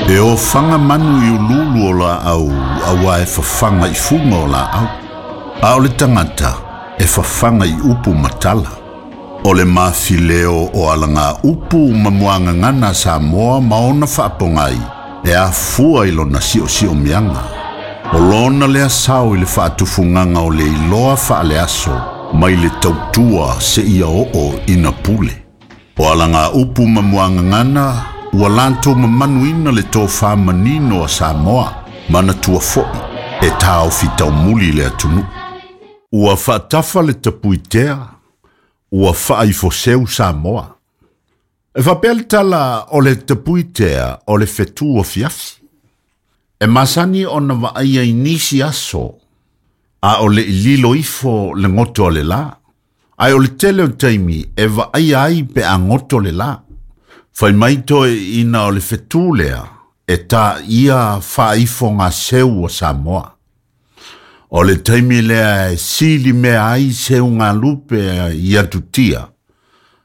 E ofaga manu i uluulu o laau auā e fafaga i fuga o laau, a o le tagata e fafaga i upu ma tala. O le mafileo o alagaupu ma muagagana a Samoa ma ona faapogai e afua i lona siosiomiaga. O lona lea sao i le faatufugaga o le iloa faaleaso mai le tautua seia oo ina pule. O alagaupu ma muagagana ua latou mamanuina le tofa manino a Samoa, manatua foi e taofi taumuli le atunuu. Ua faatafa le tapuitea, ua faaifoseu Samoa. E faapea le tala o le tapuitea o le fetu afiafi. E masani ona vaaia i nisi aso, a o le i lilo ifo le goto a le lā. Ae o le tele o taimi e vaaia ai pe a goto le lā. Fai mai toeaiina o le fetu lea e tāia faaifogaseu a Samoa. O le taimi lea e sili mea ai seugalupe i atutia,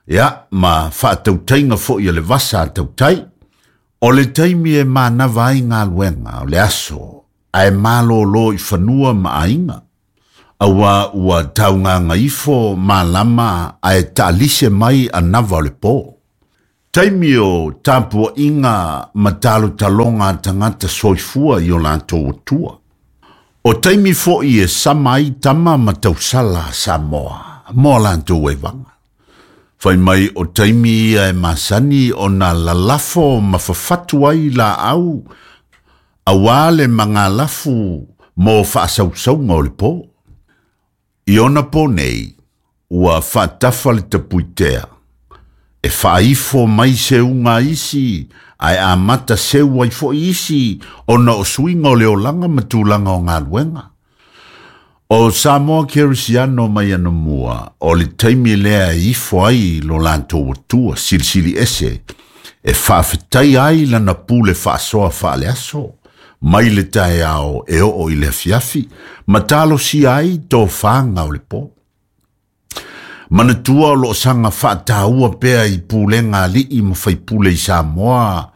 ia ma faatautaiga foi a le vasa a tautai. O le taimi e manava ai galuega o le aso ae malōlō i fanua ma aiga, auā ua taugagaifo malama ae taalise mai anava o le pō. Taimi o tapuaiga ma talotaloga a tagata soifua i o latou atua. O taimi foi e sama ai tama ma tausala a Samoa mo a latou evaga. Fai mai o taimi ia e masani ona lalafo ma fafatu ai laau auā le magalafu mo faasausauga o le pō. I ona pō nei, ua faatafa le tapuitea, e faaifo mai seuga a isi, ae amata seu ai foi isi ona o suiga o le olaga ma tulaga o galuega. O Samoa Kerisiano mai anamua, o le taimi lea e ifo ai lo latou atua silisili ese, e faafetaia ai lana pule faasoa faaleaso, mai le taeao e oo i le afiafi, ma talosia ai tofaga o le pō. Manatua o loo saga faataua pea i pulega a alii ma faipule i Samoa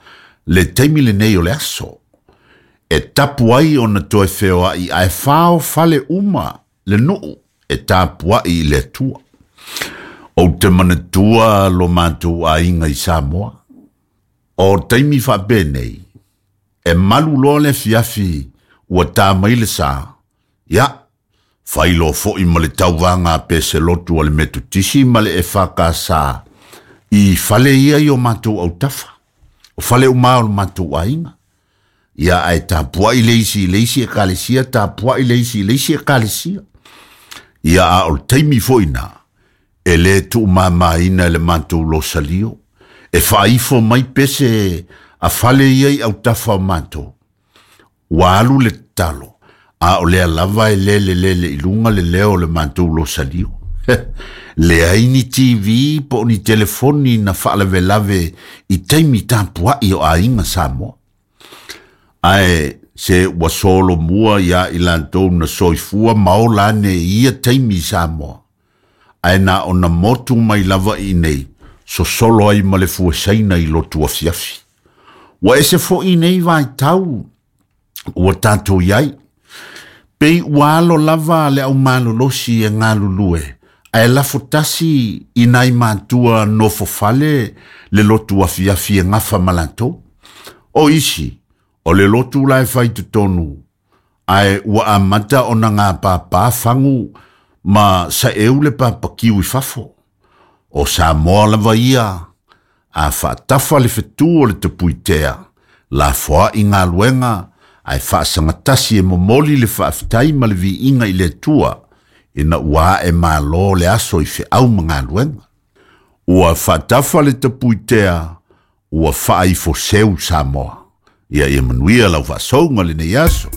le taimi lenei o le aso, e tapu ai ona toe feoai ae faofale uma le nuu e tapuai i le Atua. Ou te manatua lo matou aiga i Samoa. O taimi faapenei, e malu loa le afiafi ua ta mai le sa, ia, fai loa foi ma le tauvaga a peselotu a le Metotisi ma le EFKS i fale ia i o matou autafa, o fale uma o le matou aiga. Ia, ae tapuai le isi i le isi ekalesia, tapuai le isi i le isi ekalesia. Ia, a o le taimi foi na, e lē tuumamaina e le matou losalio, e faaifo mai pese a fale ia i autafa o matou. Ua alu le tatalo, a o lea lava e lelelele i luga le leo o le matou losalio. Leai ni TV po o ni telefoni na faalavelave i taimi tapuai o aiga Samoa. Ae se ua solomua iā i latou na soifua ma ola ane i ia taimi i Samoa, ae na ona motu mai lava i inei, sosolo ai ma le fuesaina i lotu afiafi. Ua ese foi nei vaitau ua tatou i ai. Pei ua alo lava le aumalolosi e galulue, ae lafo tasi i nai matua nofofale le lotu afiafi e gafa ma latou. O isi, o le lotu la e fai totonu, ae ua amata ona gapapā fagu ma saeu le papakiu i fafo. O Samoa lava ia, a faatafa le fetu o le tapuitea, lafoai galuega, ae faasagatasi e momoli le faafetai ma le viiga i le Atua, ina ua ae malo le aso i feau ma galuega. Ua faatafa le tapuitea, ua faaifoseu Samoa. Ia ia manuia lau faasouga lenei aso.